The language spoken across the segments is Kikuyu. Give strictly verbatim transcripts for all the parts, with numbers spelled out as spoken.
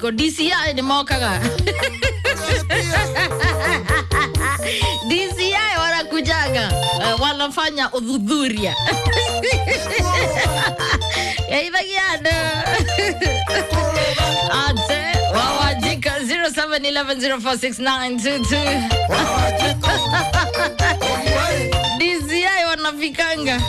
Ko D C I nĩ mokaga. D C I wanakujaga, uh, wanafanya udhudhuria. Yaithagia ate wawajika zero seven eleven zero four six nine two two. D C I wanafikanga,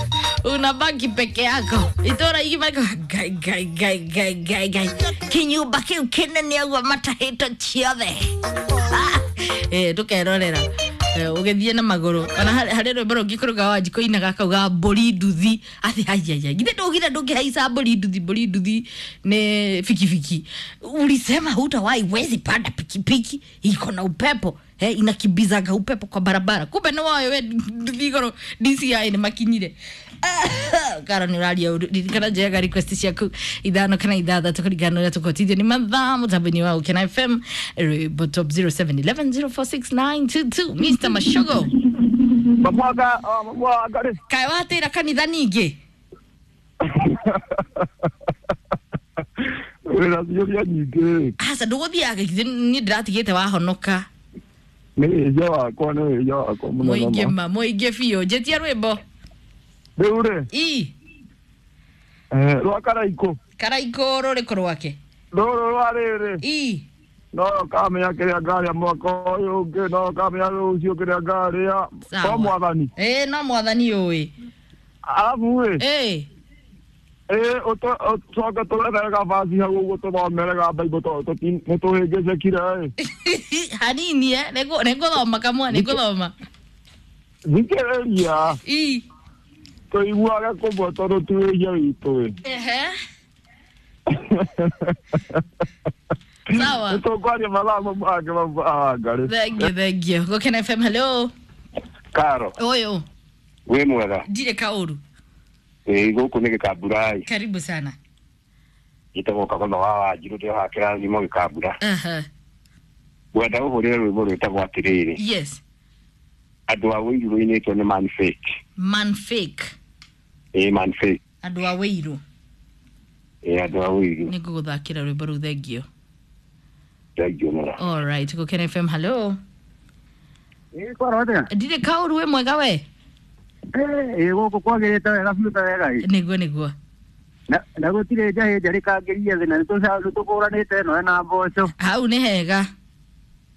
unabaki peke yako itora igimako gai gai gai gai gai gai kinyumba kiu kinene ũguo matahĩtwo ciothe. Eh, tukerorera ũgĩthiĩ na magũrũ ona harĩ rwĩmbo rũngĩ kũrũga wa njikũ inaga kauga mbũri nduthi athi haiya githĩ ndũgire ndũngĩhaica mbũri nduthi mbũri nduthi nĩ bikibiki ulisema hutawahi wezi panda pikipiki iko na upepo eh, inakimbizaga upepo kwa barabara kumbe nĩ woyo we nduthi igũrũ D C I nĩ makinyire. Karo nĩ ũraria ũru ririkana njega request ciaku ithano kana ithathatũ kũringana na ũrĩa tũkũhotithio nĩ mathaa mũtambo-inĩ wa Ũkena F M rwĩmbo top zero seven eleven zero four six nine two two. Mister Mashogo Mamwaka mamwaka rĩ kaĩ watĩra kanitha ningĩ wĩna ciũria nyingĩ aca ndũgũthiaga githĩ niĩ ndĩratigĩte wahonoka nĩ wĩhia wakwa nĩ wĩhia wakwa mũno mũingĩ ma mũingĩ biũ njĩtia rwĩmbo rĩu rĩ i rwa Karaikũ Karaikũ rũrĩkũ rwake rũrũ rwa rĩrĩ i no kamenya kĩrĩa ngarĩa mwaka ũyũ ũngĩ no kamenya rũciũ kĩrĩa ngarĩa no mwathani ĩ no mwathani ũĩ arabu rĩ ĩ ĩ ũcoke tũrethere gabaci hau ũguo tũthomere ga Bible tondũ nĩ tũhĩngĩcĩkire ĩ hanini eh nĩngũthoma kamwe nĩngũthoma thikĩrĩria i tũiguage kũmwe tondũ ti wĩhia witũ ĩ ehe sawa nĩtũkwaria mathaa mau mangĩ mau mawangarĩ thank you thank you Gũkena F M hello Karo ũyũ wĩ mwega ndirĩ kaũru ĩ gũkũ nĩ Gĩkamburai karibu sana njĩtagwo Kagotho wa Wanjirũ ndĩ haha kĩrathimo Gĩkambura aha ngwenda ũhũrĩre rwĩmbo rwĩtagwo atĩrĩrĩ yes andũ a Wĩirũ rũinĩtwo nĩ man fake man fake ĩ man fake andũ a Wĩirũ ĩ andũ a Wĩirũ nĩ ngũgũthakĩra rwĩmbo rũu thengio thengio mũno all right Gũkena F M hello ĩ kwaro atĩa ndirĩ kaũru wĩ mwega we ĩ gũkũ kwagĩrĩte wega biũ ta wega ĩ nĩguo nĩguo na na gũtirĩ njahĩ njarĩkangĩrie thĩ na nĩ tũkũranĩte ĩno ĩna mboco hau nĩ hega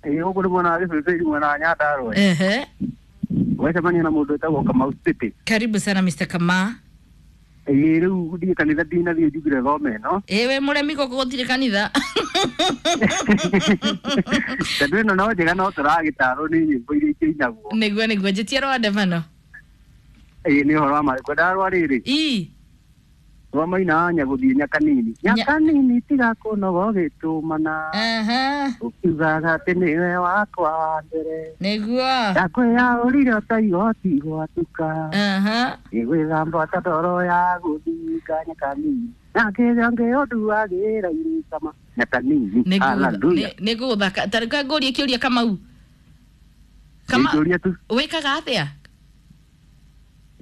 ĩ gũkũ nĩ mwena wa Gĩbĩbĩri mwena wa Nyandarũa ehe wecemania na mũndũ wĩtagwo Kamau City karibu sana Mister Kamau ĩ rĩu ndiĩ kanitha ndinathiĩ njugire thome ĩno ĩ we mũremi gũkũ gũtirĩ kanitha tondũ ĩno no njega no tũragĩtarwo nĩ nyĩmbo iria ikĩinagwo nĩguo nĩguo njĩtia rwa ndebano ĩ nĩ ũhoro wa marĩ ngwendaga rwa rĩrĩ i rwa maina wa nyagũthiĩ nyakanini nyakanini tiga kũnoga ũgĩtũmana aha ũkiugaga atĩ nĩwe wakwa wa mbere nĩguo ndakwĩyaũrire ta igoti gwatuka aha ĩgwĩthamba ta ndoro ya gũthinga nyakanini na kĩrĩa ngĩũnduagĩra irĩkama nyakanini haleluya nĩ ngũgũthaka ta reke ngũrie kĩũria Kamau Kama kĩũria tu wĩkaga atĩa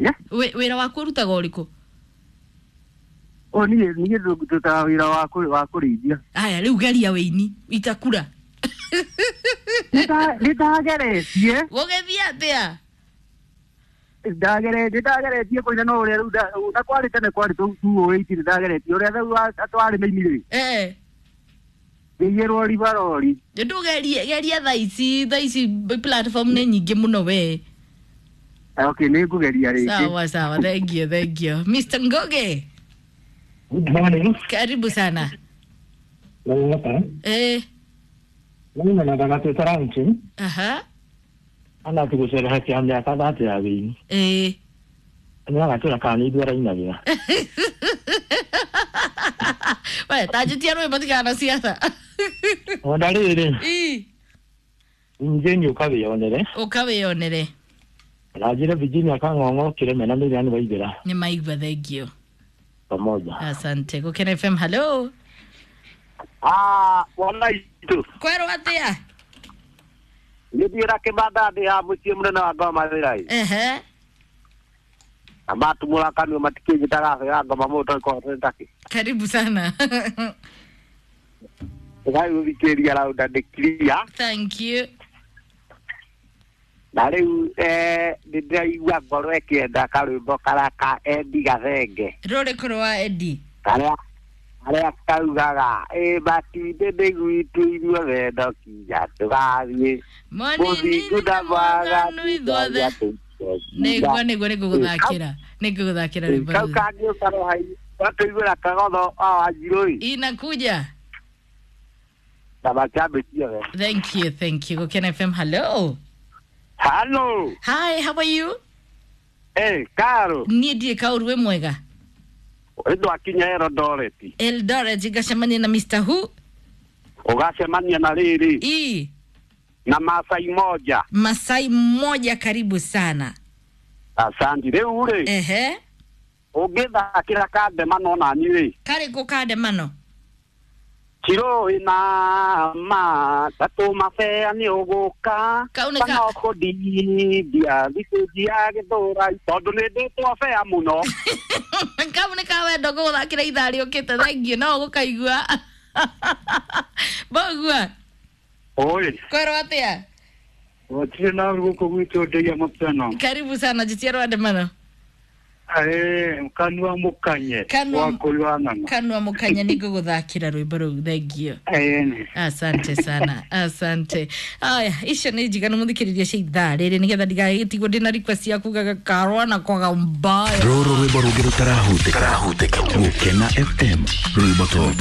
Yeah. Wĩ- wĩra waku ũrutaga ũrĩkũ o niĩ niĩ ndutaga wĩra wa kũ- wa kũrĩithia aya rĩu geria wĩini itakura nĩ ndageretie gũgĩthiĩ atĩa ndagere nĩ ndageretie kũina no ũrĩa rĩu nda- na kwarĩ tene kwarĩ tũũĩti nĩ ndageretie ũrĩa rĩu twarĩ mĩini rĩ eh ngĩiyĩrwo ribarori ndũgerie geria thaa ici thaa ici platform nĩ nyingĩ mũno we okay nĩ ngũgeria rĩngĩ sawa sawa thank you thank you Mister Ngoge Good morning. karibu sana eh Mimi nataka tutarance aha ana tugucerehekea mĩaka thate ya wĩini eh nĩagatwĩra kana nĩ ithuĩ arainagĩra we tanjĩtia rwĩmbo tigana na ciaca ona rĩrĩ i njeni ũkawĩonere ũka wĩyonere na njĩre Virginia Kang'ong'o kĩreme na Miriam Waithera nĩ maigua thengio pamoja asante Gũkena F M hello ah wana itũ kwerwo atĩa nĩ thiĩra kĩmanda ndĩ ha mũciĩ mũnene wa ngoma wĩra-ĩ ehe na matumũra kanua matikĩnjĩtaga bĩra ngoma mũndũ ĩkorwo takĩ karibu sana Tũgagũthikĩrĩria raunda nĩ clear. Thank you. Na rĩu eh, nĩ ndĩraigua ngoro ĩkĩenda karwĩmbo karĩa ka Eddie Gathenge. Rũrĩkũ rwa Eddie? Karĩa karĩa kaugaga ĩ matinde nĩ gwitũ ithuothe no kinya tũgathiĩ Mũnini mũthingu na na mwaganu mwaganu ithuothe. Nĩguo nĩguo nĩngũgũthakĩra. Nĩngũgũthakĩra rwĩmbo kau rũu. kangĩũka watũiguĩra kagotho wa wanjirũ ĩ Inakuja. na macambĩ ciothe. Thank you, thank you. Gũkena F M, hello. Hello. Hi, how are you? Eh, Karo. Niĩ ndirĩ kaũru wĩ mwega. Ndwakinya Eldoret. Eldoret ngacemania na Mister Who. Ũgacemania na rĩrĩ E. na Masai moja. Masai moja, karibu sana. Asante. Rĩu rĩ Ehe. ũngĩthakĩra kandemano nani rĩ Karĩkũ kandemano? Chiro ina ma tatu mabea nĩ ũgũka Kau nĩ ka- kana ũkũndindia thikũ cia gĩthũra tondũ nĩ ndĩtwo bea mũno. Kau nĩ ka wendo ngũgũthakĩra ithaa rĩũkĩte. Thank you, no ũgũkaigua. Mbogua, Oi. kwerwo atĩa? Gũtirĩ na gũkũ gwitũ ndeia mapeno. Karibu sana jitia rwandemano. Eh, kanua mũkanye Kanua- wa kũrua ng'ang'a. Kanua mũkanye nĩ ngũgũthakĩra rwĩmbo rũu. Thank you. Eh, Asante sana, asante. Aya, icio nä njiganu må thikä rä ria cia ithaa rä rä nä getha ndigagä tigwo ndä na request ya kugaga karwa na kwaga mbaya. Rũrũ rwĩmbo rũngĩ rũtarahutĩka. Gũkena F M rwĩmbo top.